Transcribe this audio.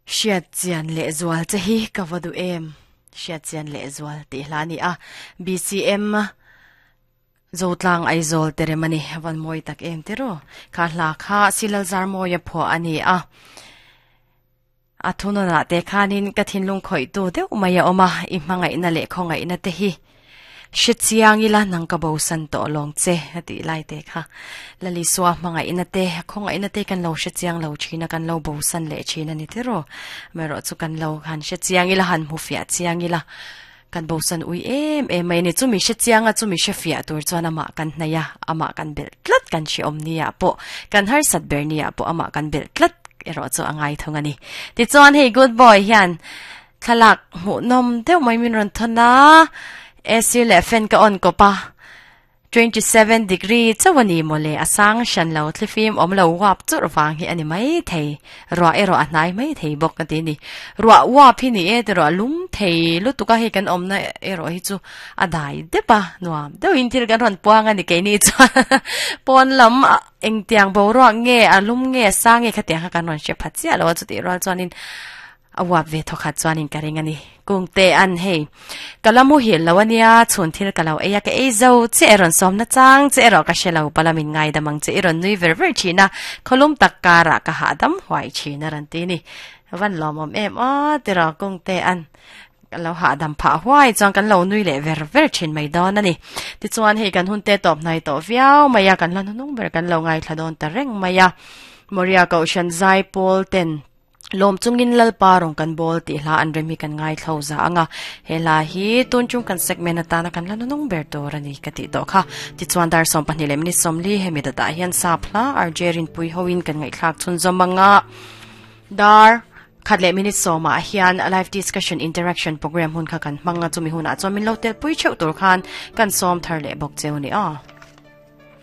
Hriat chian leh zual che hi ka va duh em? Hriat chian leh zual tih hla a ni a, BCM Zotlang Aizawl te rem a ni, a van mawi tak em te ru. Kha hla kha Silal Zarmawia phuah a ni a, a thunawnah te khanin ka thinlung khawihtu deuh mai a awm a, i hmangaihna leh khawngaihna te hi Hre chiang ila nang ka bosan tawh lawng che a tih lai te kha. Lalisua hmangaihna te, khawngaihna te kan lo hre chiang lo thin a, kan lo bosan leh thin a ni tiraw. Amaherawh chu kan lo han hre chiang ila, han hmu fiah chiang ila, kan bosan ui em em mai a ni. Chumi hre chiang a, chumi hre fiah tur chuan amah kan hnaih a, amah kan belh tlat kan hreawm nia pawh, kan harsat ber nia pawh amah kan belh tlat erawh chu a ngai thung a ni. Tichuan hei good boy hian Thlalak hmuhnawm deuh mai min rawn thawn a, AC leh fan ka on kawp a, 27 degree chauh a ni mawle, a sang hran lo, thlifim awm lo uap churh vang hi a ni mai thei, ruah erawh a hnai mai thei bawk a ti a ni. Ruah uap hi ni e tirawh a lum thei lutuk a, hei kan awmna erawh hi chu a dai dep a, nuam deuhin thil kan rawn puang a ni keini chuan pawn lam engtiang boruak nge a lum nge a sang nge khatiang kha kan rawn hre pha chiah lo a, chutih rual chuanin A uap ve thawkhat chuanin ka ring a ni. Kungte an hei. Ka la muhil lo a nia, chhun thil ka lo ei a, ka ei zo che e rawn sawmna chang che erawh ka hre lo, palamin ngaidam ang che i rawn nui ver ver thin a, khawlum tak karah ka hahdam huai thin a rawn ti ni. Van lawmawm em aw tiraw Kungte an ka lo hahdam phah huai chuan kan lo nui leh ver ver thin mai dawn a ni. Tichuan hei kan hun te tawp hnai tawh viau mai a, kan hla hnuhnung ber kan lo ngaithla dawn ta reng mai a. Moria Kohhran Zaipawl ten Lawm chungin Lalpa rawn kan bawl tih hla an rem hi kan ngaithlo za ang a, he hla hi tun chung kan segment atana kan la nunung ber tur a ni ka tih tawh kha. Tichuan dar 12 leh minute 40 hemi datah hian sap hla RJ Rinpui hoin kan ngaihthlak chhunzawm ang a, dar khat leh minute sawmah hian live discussion interaction program hun kha kan hmang a, chumi hunah chuan min lo telpui theuh tur khan kan sawm thar leh bawk cheu ni aw.